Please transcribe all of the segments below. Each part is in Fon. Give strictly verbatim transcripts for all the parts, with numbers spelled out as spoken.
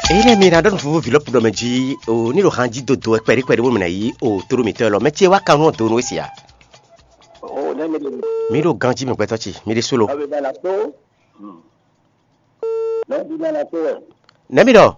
Eyi lɛ mi na ɖɔ nufúnfún vǐ lɔ́ ɖɔ mɛ jí o, ní ɖo han jí dodo wɛ kpɛɖé kpɛɖé bó mɛ ná yí o, tóɖó mǐtɔn élɔ́ mɛ ce wá kan nú donu wé sia. O ne mi ɖe mi. Mi ɖo ganjí mi gbɛtɔ́ ce, mi ɖe solo. Abe bana to. Hmm. Ne bi nana to wɛ. Ne mi ɖɔ.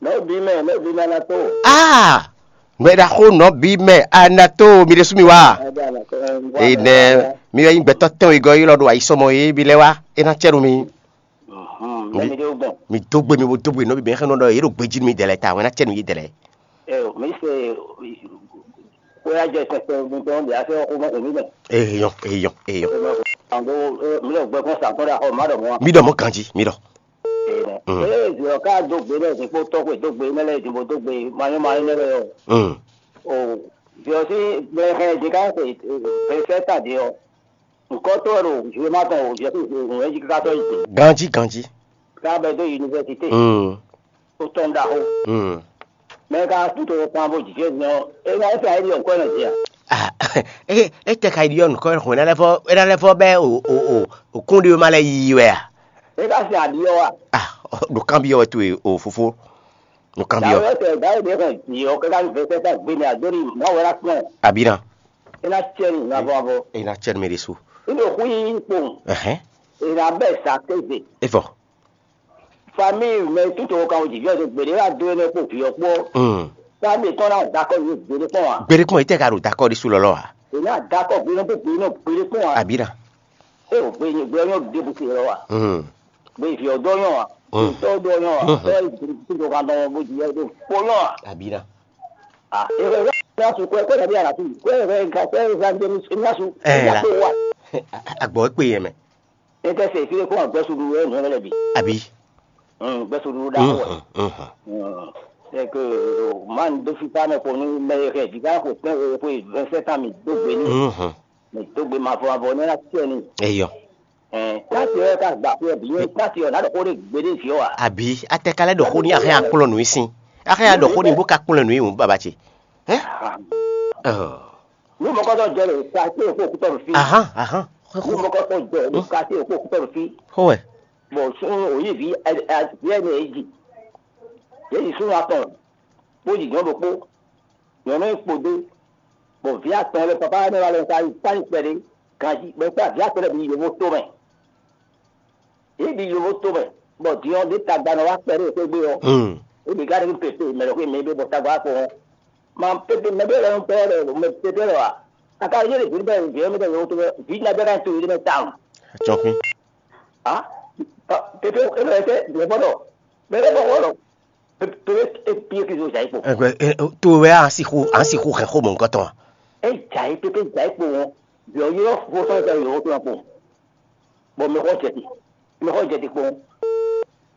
Ne bi mɛ ne bi nana to. Aa, gbɛ ɖaxó nɔ bí mɛ anato mi ɖe sú mi wá. Abe bana to. Enɛ mi wɛ nyí gbɛtɔ́ tɛn wegɔ yi lɔ ɖo ayisɔmɔ yi bi lɛ wá, e ná cɛ nu mi. Mhm, mi, ne mi ɖe gbɔn. Mi dó gbe mi bo dó gbe nɔ bi bɛn xɛ nɔ ɖɔ yě ɖo gbejí nú mi dɛlɛ ta wɛn ná cɛ nú yě dɛlɛ. Eo mi se. Kó ya jẹ sẹsẹ mi tɔn de ase ọkọ mọ mi mẹ. Eyɔn eyɔn eyɔn. Ando. Mi lọ gbẹ kún sàkó ɖe axɔ ma ɖɔ mọ. Mi ɖɔ mɔ ganji mi ɖɔ. Mm. Ee ziyɔ ká dó gbe lɛ zikpó tɔgbe dó gbe mɛ lɛ zimbo dó gbe mayɔ mayɔ mɛ lɛ yɔ. Mm. O ziyɔ si gbɛ xɛ di ká se fɛ ta di yɔ. Nukɔtɔ́ ɖo Zwiwema tɔn o, Jɛsu Zwiwema jí káká tɔ́ yi. Ganjí ganjí. Ká bɛ dó yunivɛsité. Mm. Ó tɔn ɖaxó. Mm. Mɛ ka kú to kpan bó jijɛ nyɔ. É ná é fɛ ayé ɖi ɔnkɔ nɔ jí a? Ah, é é tɛ ka yi ɖi ɔnu kɔ xɔn é ná lɛ fɔ é ná lɛ fɔ bɛ o o o o kún ɖi ma lɛ yiyi wɛ a? É ka sin aɖi ɔ́ wa? Ah, ɖo kan bi ɔwɛ to e o fofo. Ɖo kan bi ɔwɛ. Dàwé tɛ dàwé ɖe xɔ yi ɔ kaka ní fɛ fɛ gbé ní adó ní má wɛ ná kpɔn. Abina. É ná cɛ ní ná bɔ bɔ. É ná cɛ ní mi ɖe su. Ní ɖo xú yí kpowun. Ɛhɛn. É ná bɛ sa kéze. Evɔ. Famille mɛ tutu wo kan wo jijɔ de gbede wa do ne kpo vi ɔkpɔ. Mm. Famille tɔn na dakɔ yi gbede kpɔn wa. Gbede kpɔn yi tɛ ka ɖo dakɔ ɖi su lɔlɔ wa. Ina dakɔ gbede kpɔn gbede kpɔn gbede kpɔn wa. Abira. E o gbe ni gbe nyɔ de bu se lɔ wa. Mm. Gbe vi ɔdɔ nyɔ wa. Mm. Tɔ dɔ nyɔ wa. Mm. Tɔ yi tutu kan dɔ bo jijɔ de kpɔ nyɔ wa. Abira. Ah, e ko na su ko ko na bi ala tu. Ko e ka ko e ka de ni na su. Eh, la. Agbɔ ekpe yɛ mɛ. Ete se file kó gbɛsulu wɛ nɔ lɛ bi. Abi. Mm, gbɛsulu da wɛ. Mhm, mhm. Mm. C'est que man do fi pa mɛ ko nu mɛ he di ka ko tɛ ko vingt-sept ans mi do gbe ni. Mhm. Mi do gbe ma fɔ avɔ ne la tiɛ ni. Eyɔ. Eh, ta ti ka gba ko bi ne ta ti na do ko de gbe de fi wa. Abi, atɛ ka lɛ ɖo xó ní axɛ akplɔ nǔ í sín. Axɛ ya ɖo xó ní bó ka kplɔ nǔ í hùn baba ce. Hɛn? Ɔ. Ní mɔkɔtɔ jɛ le quartier ko kutɔ fi. Ahan, ahan. Ní mɔkɔtɔ jɛ le quartier ko kutɔ fi. Xó wɛ. Bon, sun oyi vi vi ɛni eji. Yéyi sun atɔn. Kpó jijɔ ɖokpó. Nyɔnu kpo dé. Bon, vi atɔn lɛ papa ne wa lɛ ka yi kpani kpɛɖé. Ganji bɛ kpa vi atɔn lɛ bi yovo to mɛ. Yě ɖi yovo tomɛ, bɔ din ɔ́ ɖě tagba nɔ wá kpɛɖé xwé gbé ɔ́, é ɖi gǎn nú pépé mɛ ɖo xwé mɛ bɔ tagba wá kpɔ́n ɔ́. Ma pépé mɛ ɖé lɛ́ɛ nɔ tɔ́ ɖɔ mɛ pépé lɔ ǎ. Aka yé ɖe vǐ bɛ vǐ ɔ́ mɛ ɖɔ yovo tomɛ, vǐ ná bɛ ká to yé ɖé mɛ tawun. Acɔkun. Á pépé é lɔ ɛsɛ vǐ ɔ́ bɔ ɖɔ mɛ ɖé bɔ wɔ ɖɔ pépé é píé kí zo zǎ yi kpo. Ɛgbɛ, ɛ, ɛ, to wɛ a si xo a si xo hɛn xo mɔ nukɔtɔn a? É zǎ yi pépé zǎ yi kpo ɔ́, vǐ ɔ́ ylɔ́ fofó sɔ́ zǎ yi yovo tomɛ kpo. Bɔ mɛ xɔ jɛ ti mɛ xɔ jɛ ti kpɔn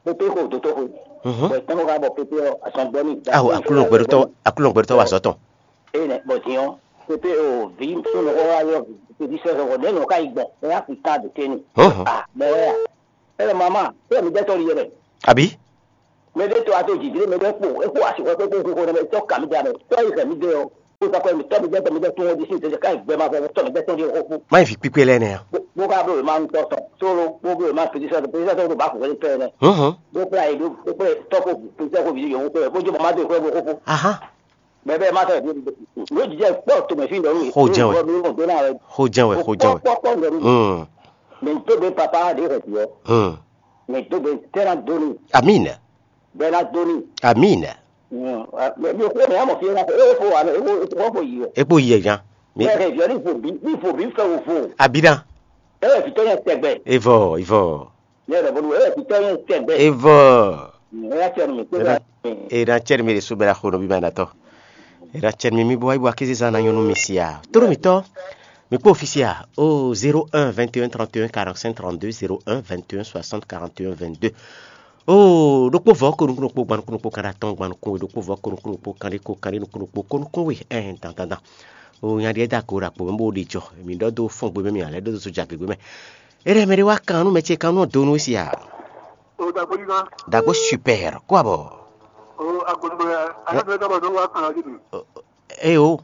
pépé xɔ dotɔ xɔ bɔ tɔn ka bɔ pépé ɔ asɔn gbɔ ni. Aho aklúnɔ gbɛɖutɔ aklúnɔ gbɛɖutɔ wa sɔtɔn. Eye nɛ bɔ diɔ pépé o vi sunu xɔ wa yɔ pépé sɛ xɔ ne nɔ ka yi gbɔ ɛ ya fi kan de teni. Ah mɛ wɛ ya ɛ mama ɛ mi dɛ tɔ li yɛ dɛ. Abi. Mɛ ɖe to ato didi mɛ ɖe kpo eko asi xɔ kpekpe xixo ne mɛ tɔ kami da mɛ tɔ yi xɛ mi de ɔ. Kó sɔkɔ mi tɔ mi jɛ tɔ mi jɛ tún ɔdi sí ìtẹjẹ ká ìgbẹ́ máa fẹ́ tɔ mi jẹ tún di xófó. Má yi fi kpíkpé lɛ́ nɛ a? Bó ká bó ma ń tọ́ sɔn sóló bó bó ma pèsè sọ́dọ̀ pèsè sọ́dọ̀ bó bá kò wẹ́lẹ́ pẹ́ nɛ. Bó kpla yi bó kpla tɔkò pèsè kò bìí yòówó pẹ́ bó jẹ́ mama dó ìkó bó xófó. Bɛbɛ ma tɔ ló jijɛ kpɔ tòmɛ fi ndɔnu. Xó jẹ́ wɛ. Xó jẹ́ wɛ xó jẹ́ wɛ. Kpɔ kpɔ ndɔnu. Mɛ tó bɛ papa de xɛ tiɛ. Mɛ tó bɛ tẹ́lá dóni. Amina. Bɛna doni. Amina. Mi xo ne amɔ fi na e wo fo wa e wo fo yi. Ekpo yi jan. Mi. Ɛ viɔ ni fo bi ni fo bi fɛ wo fo. Abina. E wɛ vitɔ yɛ tɛgbɛ. Evɔ evɔ. Ne yɛ bɔbɔ e wɛ vitɔ yɛ tɛgbɛ. Evɔ. E ya tɛ mi ko. Era cɛri mi de subɛra xo no bi ma na tɔ. Era cɛri mi mi bo ayi bo akisi zan na nyɔnu mi sia. Toro mi tɔ. Mi kpó ofisia o zéro un vingt et un trente et un quarante-cinq trente-deux, zéro un vingt et un soixante quarante et un vingt-deux. Oo ɖokpó vɔ ko nukún ɖokpó gban nukún ɖokpó kan ɖe atɔn gban nukún we ɖokpó vɔ ko nukún ɖokpó kan ɖe ko kan ɖe nukún ɖokpó ko nukún we ɛn dan dan dan. Oo nya ɖe da ko ɖo akpo mɛ bó ɖi jɔ mi ɖɔ do fɔn gbe mɛ mi alɛ ɖo do so ja gbe mɛ. Ere mɛ ɖe wa kan nu mɛ ce kan nu do nu si a. O dagbo yi kan. Dagbo super ko abɔ. O agbodugbo ya ale fɛ dɔbɔ do wa kan ɔdi mi. Ee o.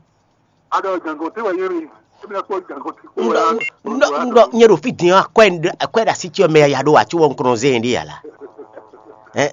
Aɖɔ jangɔte wɛ yé mi. Ebi akpɔ jangɔte ko wɛ. Ŋdɔ ŋdɔ ŋdɔ nye ɖo fi din akɔe akɔe ɖe asi tsi ɔmɛ ya ɖo atsi wɔ ŋkrɔn zɛ yɛn ɖe ya la. Ɛ.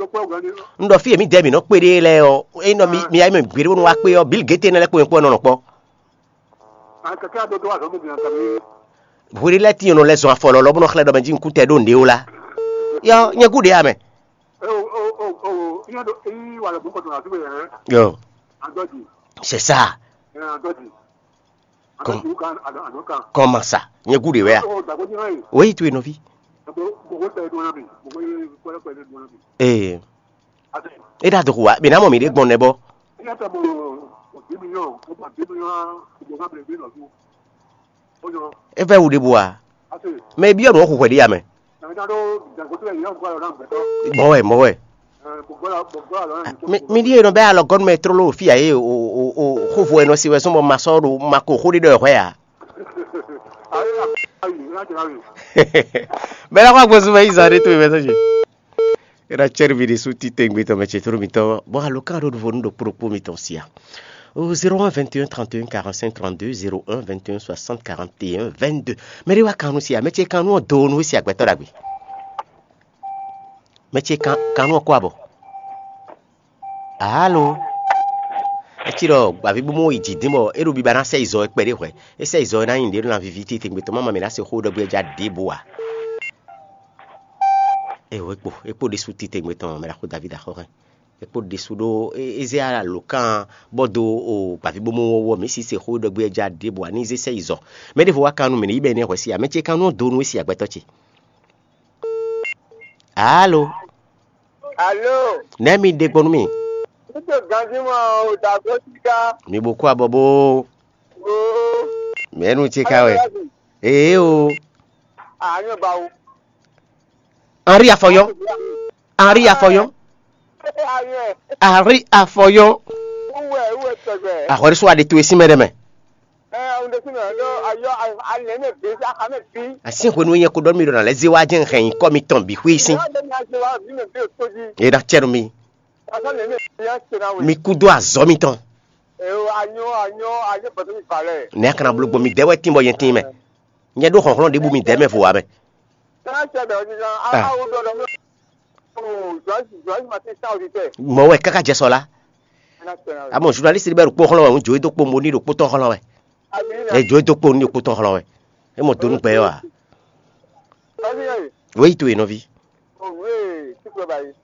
ɖokpó wɛ gɔ́ ní. Un ɖɔ fí e mǐdɛɛ mǐ nɔ kpé ɖe lɛ́ɛ ɔ́, é nɔ mi mi ayé mɛ gbeɖé bónú wá kpé ɔ́, bǐ gěte énɛ́ lɛ́ɛ kpó nyɛ kpó nɔ nɔ kpɔ́. Kɛkɛ ado dó azɔ̌ mɛ din aka mi. Hweɖé lɛ́ɛ tíin nɔ lɛ́ zɔn afɔ lɔlɔ bó nɔ xlɛ́ ɖɔ mɛ jí un kú tɛ ɖó nǔɖé ó lá. Yɔ, nyɛ gúɖé amɛ. O o o o, nyɛ ɖo eyi wà lɛ bó kɔtɔ na fi wɛ. Yɔ, Adɔji. C'est ça. Ɛ, adɔji. Kɔn. Adɔji kan, adɔ adɔ kan. Kɔn ma sa, nyɛ gúɖé wɛ a. O dàgbò jẹ́ báyìí. Wéyí tu enɔvi. Gbogbo gbogbo tẹ dun na mi. Gbogbo ye kpɛlɛ kpɛlɛ dun na mi. Ee. Ate. E ɖa dɔxu wa, bɛ na mɔ mi ɖe gbɔn nɛ bɔ. Ina tɛ mo o bi mi yɔ, o ba bi mi yɔ, o ba bi mi yɔ. O yɔ. E vɛ wu ɖe bo wa. Ate. Mɛ bi yɔ nɔ xu hwɛ ɖi ya mɛ. Na mi ta ɖo dàgbò tɛ yɔ gbɔ yɔ na gbɛtɔ. Mɔ wɛ, mɔ wɛ. Ɛ, gbogbo la gbogbo la lɔ na mi. Mi mi ɖi yɛ nɔ bɛ alɔ gɔnu mɛ trolo fi ya ye o o o xo vo ɛnɔ si wɛ sɔn bɔ ma sɔ ɖo ma ko xo ɖi ɖɔ hwɛ ya. Ayi ayi, ina tɛ na mi. Bɛ la kwa gbɔsu mɛ yi zan ɖe to mɛ sɔ dzi. Era tsɛ́ ɖo mi ɖésú titewungbe tɔn mɛ ce tló mitɔn, bɔ alɔkánɖóɖuvo nú ɖokpó ɖokpó mitɔn sia. O zéro un vingt et un trente et un quarante-cinq trente-deux, zéro un vingt et un soixante quarante et un vingt-deux. Mɛ ɖé wá kan nú sia, mɛ ce kan nú ɔ́ do nú sia gbɛtɔ́ ɖagbe. Mɛ ce kan kan nú ɔ́ kó abɔ. Alo. Etsi ɖɔ gbavǐbúmú yi jǐ dín bɔ é ɖo biba ná sɛ yi zɔ é kpɛɖé hwɛ̌. É sɛ yi zɔ é ná nyi nǔɖé ɖó ná víví titewungbe tɔn má ma mɛ ná se xó ɖɔ gbé ja ɖěbǔ ǎ. Eo, é kpo é kpo ɖésú titewungbe tɔn mɛ ɖaxó Davídi axɔ́ hɛn. É kpo ɖésú ɖó é zé alǒkan bɔ dó o gbavǐbomɔ wɔwɔ mǐ si se xó ɖɔgbé ja ɖěbǔ ǎ ní zé sɛ yi zɔ. Mɛ ɖěvo wá kan nú mǐ ní yi bɛ ní hwɛ sí ǎ, mɛ ce kan nú do nú é si agbɛtɔ́ ce. Alo. Alo. Nɛ̌ mi ɖe gbɔn nú mì? Nítorí ganjí mɔ o dàgbò síká. Mi bo kú abɔ bó. Oo. Mɛ̌nu ce ka wɛ? Ee o. Àányọ̀ bá wo. Henri Afɔyɔn. Henri Afɔyɔn. Ayɛ. Henri Afɔyɔn. Uwe uwe tɔgbɛ. Ahɔriso aɖe to esi mɛ ɖe mɛ. Ɛ ɔn ɖe sinɔ ɖo ayɔ alɛ mɛ bi axa mɛ bi. Asi hwenu nyɛ ko ɖɔ mi ɖo na lɛ zi wa jɛ hɛn kɔ mi tɔn bi xwi sin. Wa de na se wa bi mɛ bi o to ji. E na cɛ nu mi. Asa lɛ mɛ bi ya se na we. Mi ku do azɔ mi tɔn. E o anyɔ anyɔ anyɔ bɔtɔ mi balɛ. Ne a kana blo gbɔ mi dɛ wɛ tin bɔ yɛn tin mɛ. Nyɛ ɖó xɔxlɔn ɖe bu mi dɛ mɛ vo wa mɛ. Ɛ na cɛ bɛ o ti sɔn a a wo dɔ dɔ mi. Mɔ wɛ kaka jɛ sɔ la. Amɔ journaliste ɖe bɛ ɖo kpó xlɔ́ wɛ, un jǒ e dó kpó mo ní ɖo kpó tɔn xlɔ́ wɛ. E jǒ e dó kpó ní ɖo kpó tɔn xlɔ́ wɛ. E mɔ donu gbɛ wa. Wéyi to ye nɔvi.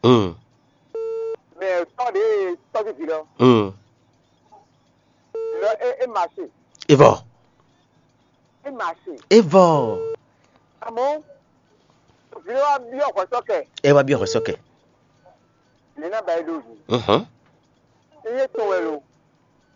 Hmm. Hmm. Evɔ. Evɔ. Ɛ wá byɔ́ hwɛ sɔ́kɛ. Mhm.